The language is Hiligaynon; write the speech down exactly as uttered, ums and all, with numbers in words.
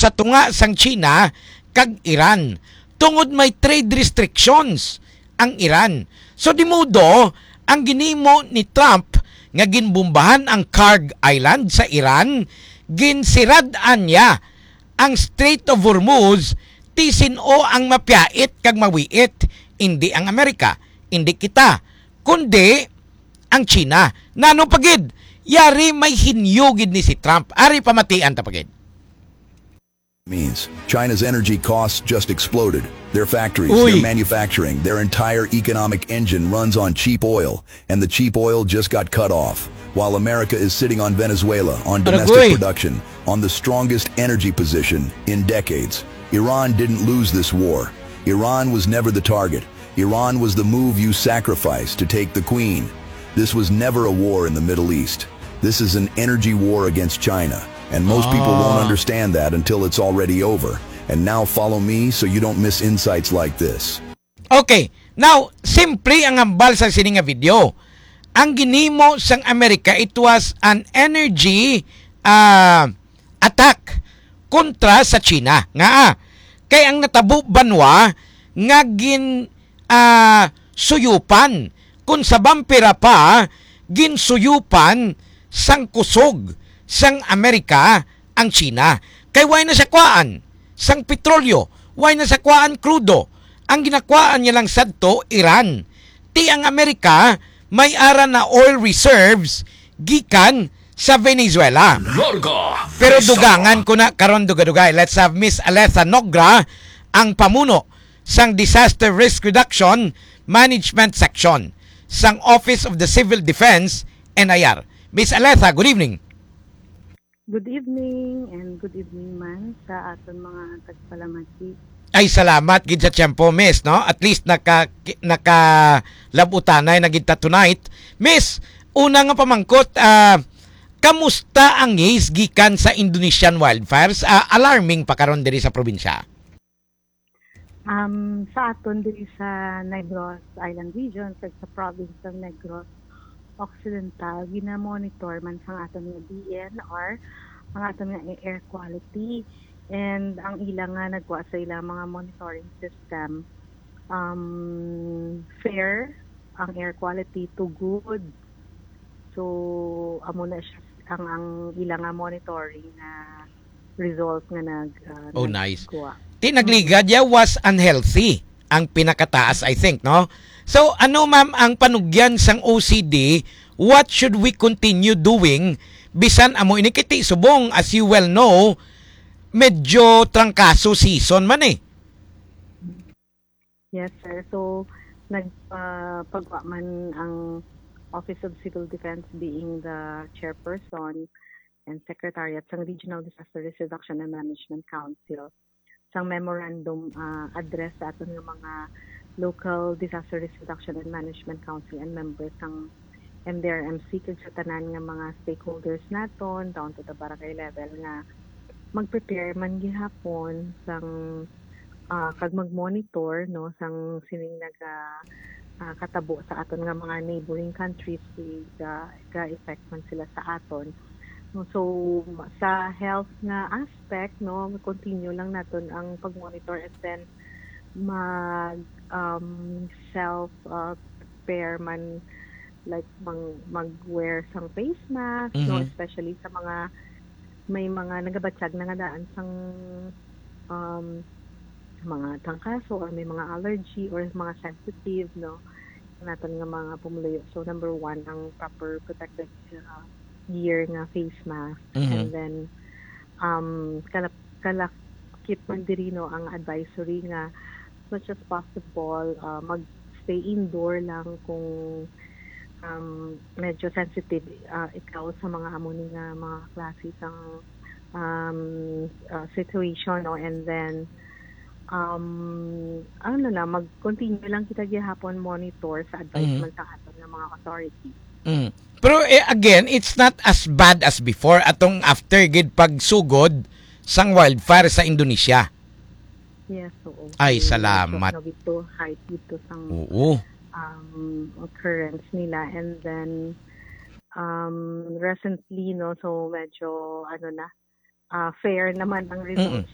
pagtatunga sang China kag Iran, tungod may trade restrictions ang Iran. So, di modo, ang ginimo ni Trump nga ginbombahan ang Kurg Island sa Iran, ginsirad-an niya ang Strait of Hormuz, ti sin-o ang mapiyait kag mawiit, indi ang Amerika, indi kita, kundi ang China. Nano pa gid? Yari may hinyo gid ni si Trump. Ari pamatian ta pa gid. Means China's energy costs just exploded. Their factories, Uy. their manufacturing, their entire economic engine runs on cheap oil, and the cheap oil just got cut off. While America is sitting on Venezuela, on domestic Agoy. production, on the strongest energy position in decades. Iran didn't lose this war. Iran was never the target. Iran was the move you sacrificed to take the queen. This was never a war in the Middle East. This is an energy war against China. And most people won't Ah. understand that until it's already over. And now follow me so you don't miss insights like this. Okay. Now, simple ang hambal sa sini nga video. Ang ginhimo sang Amerika, it was an energy ah, attack kontra sa China. Nga, ah, kay ang natabo banwa nga gin ah, suyupan, kung sa vampira pa, ginsuyupan sang kusog sang Amerika ang China. Kay why na siya kwaan sang petrolyo, why na siya kwaan krudo. Ang ginakwaan niya lang sadto, Iran. Ti ang Amerika may ara na oil reserves gikan sa Venezuela. Larga Pero Vista. dugangan ko na karon dugay-dugay. Let's have Miss Alessa Nogra, ang pamuno sang Disaster Risk Reduction Management Section sang Office of the Civil Defense, N I R. Miss Alessa, good evening. Good evening and good evening man sa aton mga tagpalamati. Ay, salamat gid sa tiyempo, Miss, no? At least naka nakalab-utanay na gid ta tonight. Miss, una nga pamangkot, ah, kamusta ang haze gikan sa Indonesian wildfires? Ah, alarming pa karon diri sa probinsya. Um, sa aton diri sa Negros Island Region, sa, sa province ng Negros Occidental, gina-monitor man sang aton nga D N R ang aton nga air quality and ang ila nga nagwa sa ilang mga monitoring system, um, fair ang air quality to good. So, amo na siya ang, ang ila nga monitoring nga result nga nag uh, Oh, nice. Ti nagligad ya was unhealthy ang pinakataas, I think, no? So, ano, ma'am, ang panugyan sang O C D? What should we continue doing? Bisan amo ini kiti subong, as you well know, medyo trangkaso season man eh. Yes, sir. So, nagpagwa man ang Office of Civil Defense being the chairperson and secretariat sang Regional Disaster Risk Reduction and Management Council sang memorandum uh, address sa aton nga mga local Disaster Risk Reduction and Management Council and members sang M D R M C kag sa tanan nga mga stakeholders naton down to the barangay level nga mag-prepare man gihapon sang ah, kag mag-monitor no sang sining naga ah, katabo sa aton nga mga neighboring countries kay ga ga-effect man sila sa aton. No, so ma- sa health nga aspect no, continue lang naton ang pag-monitor and then mag um, self uh, prepare man like mang mag-wear sang face mask no, Mhm. especially sa mga may mga nagabatyag na nga daan sang um, mga trangkaso or may mga allergy or mga sensitive no naton nga mga pumuluyo. So number one ang proper protective uh, gear nga face mask Mhm. and then um kalap kalakip man diri no ang advisory nga as much as possible uh, mag stay indoor lang kung um, medyo sensitive uh, ikaw sa mga amo ni nga mga klase sang um, uh, situation no and then um ano na mag-continue lang kita gihapon monitor sa advice Mm. man sa aton nga mga authority. Mm. Pero eh, again, it's not as bad as before atong after gid pagsugod sang wildfire sa Indonesia. Yes, oo. Ay, salamat. No, dito, height dito sang Oo. um, occurrence nila. And then, um, recently, no, so medyo, ano na, uh, fair naman ang results